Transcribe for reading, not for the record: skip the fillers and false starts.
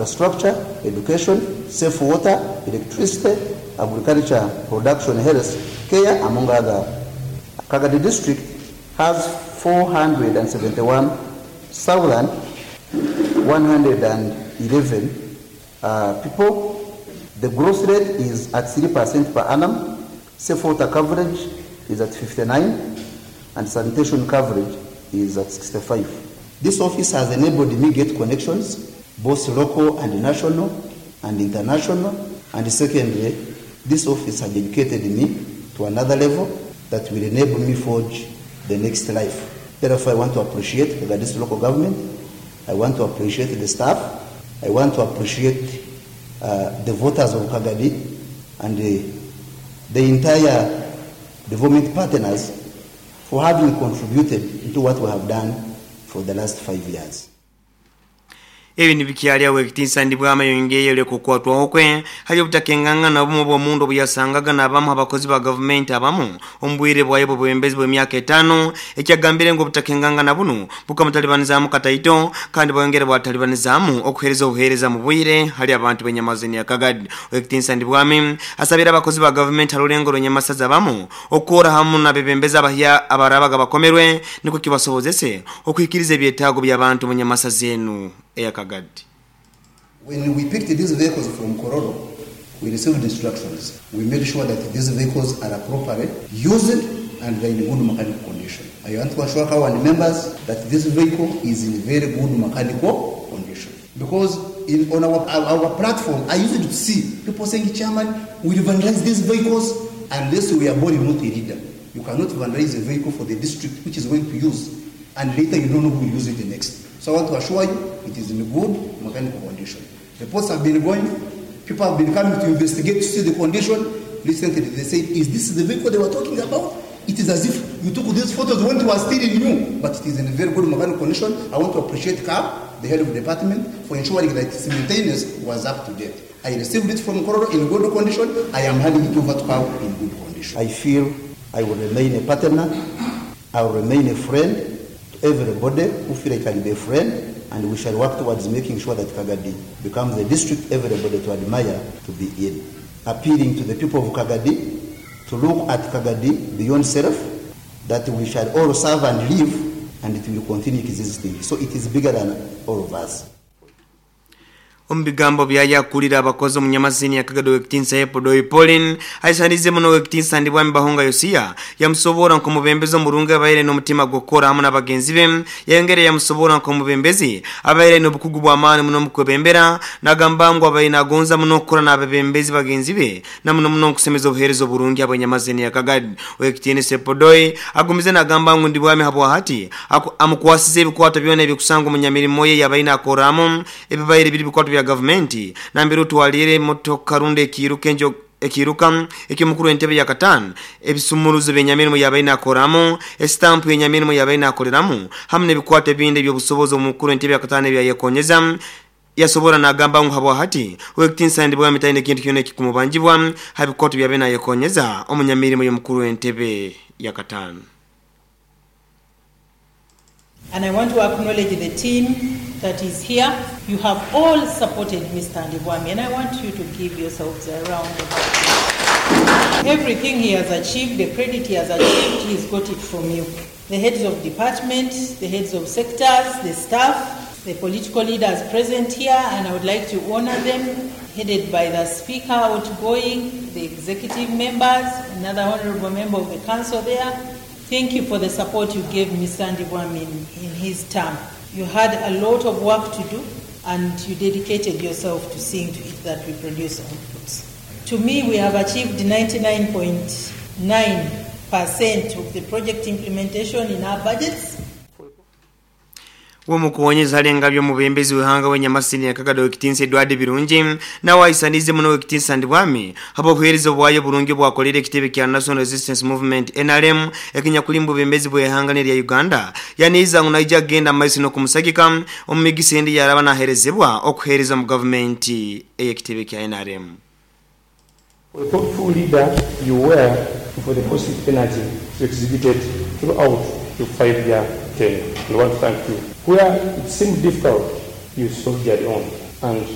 Infrastructure, education, safe water, electricity, agriculture, production, health care, among other. Kagadi District has 471,111 people. The growth rate is at 3% per annum. Safe water coverage is at 59 and sanitation coverage is at 65. This office has enabled me get connections, both local and national and international. And secondly, this office has educated me to another level that will enable me forge the next life. Therefore, I want to appreciate this local government. I want to appreciate the staff. I want to appreciate the voters of Kagadi and the entire development partners for having contributed into what we have done for the last 5 years. Ebi nibikyali awo ekitiinsa Ndibwama yongeyere kukwatwaho kwe hali obutakengangana obumu bw'omundu obuyasangaga n'abamu abakozi ba gavumenti abamu omu bwire bwayo bw'obwebembezi bw'emyaka 5, ekyagambire ngu obutakengangana bunu bukamutalibanizaamu kataito kandi bwongere bwatalibanizaamu okuheereza obuheereza mu bwire hali abantu b'enyamazini ya Kagadi. Ekitiinsa Ndibwami asabira abakozi ba gavumenti halulengo lw'enyamasaza abamu okukora hamu n'abebembezi abahya abarabaga bakomerwe, nikwo kibasobozese okuhikiriza ebyetaago by'abantu mu nyamasaza enu eya Kagadi. When we picked these vehicles from Kololo, we received instructions. We made sure that these vehicles are properly used and they're in good mechanical condition. I want to assure our members that this vehicle is in very good mechanical condition. Because on our platform, I used to see people saying, "Chairman, we will vandalize these vehicles," unless we are born not a leader. You cannot vandalize a vehicle for the district which is going to use, and later you don't know who will use it next. So I want to assure you, it is in good mechanical condition. Reports have been going, people have been coming to investigate to see the condition. Recently they said, "Is this the vehicle they were talking about? It is as if you took these photos when it was still new," but it is in a very good mechanical condition. I want to appreciate CAP, the head of the department, for ensuring that its maintenance was up to date. I received it from Kololo in good condition. I am handing it over to CAP in good condition. I feel I will remain a partner. I will remain a friend to everybody who feel I can be a friend, and we shall work towards making sure that Kagadi becomes a district everybody to admire to be in. Appealing to the people of Kagadi to look at Kagadi beyond self, that we shall all serve and live, and it will continue existing. So it is bigger than all of us. Omu bigambo byayakulira abakozi omunyamazini ya Kagadi, owekitiinsa Epodoi Pauline aisanize muno owekitiinsa Ndibwami Bahonga Yosiya, yamusobora nk'omubembezi omurungi abaire n'omutima gw'okukora hamu n'abagenzi be. Yayongere yamusobora nk'omubembezi abaire n'obukugu bw'amaani muno mukwebembera, nagamba ngu abaire nagonza muno okukora n'abebembezi bagenzi be na muno muno nkusemeza obuheereza oburungi abanyamazini ya Kagadi. Owekitiinisa Epodoi agumize nagamba ngu Ndibwami habwahati amukwasize ebikwato byona ebikusanga omunyamirimo ye yabaine akoramu, ebibaire biri bikwato bya gavumenti, nambere otwalire emotoka rundi ekiiruka enjo ekiiruka ekimukuru entebe ya katano, ebisumuruzo byenyamirimo yabaine akoramu, esitampu yenyamirimo yabaine akoreramu, hamu n'ebikwato ebindi ebyobusobozi omukuru entebe ya katano ebyayekonyeza. Yasobora nagamba ngu habwahati owekitiinisa Ndibwami taine ekintu kyona ekikumubanjibwa ha bikwato byabe nayekonyeza omunyamirimo y'omukuru w'entebe ya katano. And I want to acknowledge the team that is here. You have all supported Mr. Ndibwami, and I want you to give yourselves a round of applause. Everything he has achieved, the credit he has achieved, he's got it from you. The heads of departments, the heads of sectors, the staff, the political leaders present here, and I would like to honor them, headed by the speaker outgoing, the executive members, another honorable member of the council there. Thank you for the support you gave Mr. Ndibwami in his term. You had a lot of work to do, and you dedicated yourself to seeing to it that we produce outputs. To me, we have achieved 99.9% of the project implementation in our budgets. Womukuwonyeza alenga by'omubembezi w'ihanga w'enyamasini ya Kagadi, owekitiinisa Edward Birungi, nawe aisanize muno owekitiinisa Ndibwami habw'obuheereza bwayo burungi bwakolera ekitebe kya National Resistance Movement, NRM, ekinyakulimba obubembezi bw'ihanga nerya Uganda. Yaniiza ngu naija kugenda mumaiso n'okumusagika omu migisa endi yaraba naherezebwa okuheereza mu gavumenti ey'ekitebe kya NRM. For the thoughtful leader you were and for the positive energy you exhibited throughout your 5-year tenure. We want to thank you. Where it seemed difficult, you soldiered on. And